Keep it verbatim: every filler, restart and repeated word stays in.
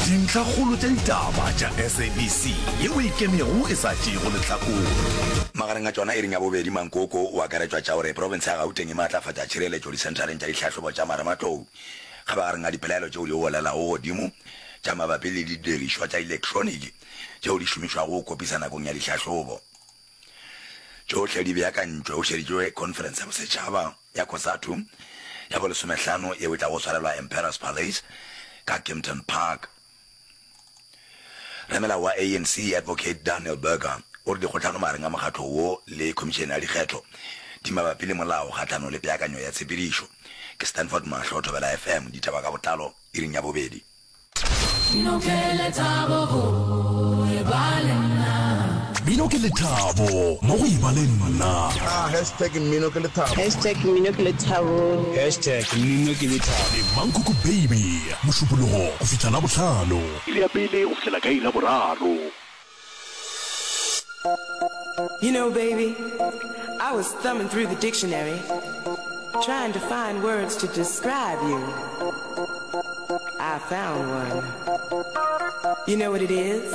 Dintlhakgolo tša ditaba tša S A B C yeo e kemego e sa tšeego lehlakore. Magareng a tšona iring ya bobedi, Mankoko o akaretšwa tša gore profense ya Gauteng e maatlafatša tšhireletšo disenthareng tša dihlahlobo tša marematlou kgabagareng a dipelaelo tšeo di golelago godimo tša mabapi le didirišwa tša elektroniki tšeo di šomišwago go kopisa nakong ya dihlahlobo. Tšohle di beakantšwe go šeditšwe Khonferense ya Bosetšhaba ya COSATU ya bolesomehlano yeo e tlago swarelwa Emperors Palace ka Kempton Park. Ramelao wa A N C Advocate Daniel Berger o re dikgohlano magareng a mokgatlo wo le Khomišene ya Dikgetho di mabapi le molao kgahlanong le peakanyo ya tshepedišo. Ke Stanford Mahlo, Thobela F M, ditaba ka botlalo iring ya bobedi. Mmino ke lethabo go eba le nna. Mmino ke lethabo mo go eba le nna. Ah, hashtag mmino ke lethabo. Hashtag mmino ke lethabo. Hashtag mmino ke lethabo. Le Mankoko Baby, Mošupologo go fihla Labohlano. Iri ya pele go fihlela ka iri ya boraro. You know, baby, I was thumbing through the dictionary, trying to find words to describe you. I found one. You know what it is?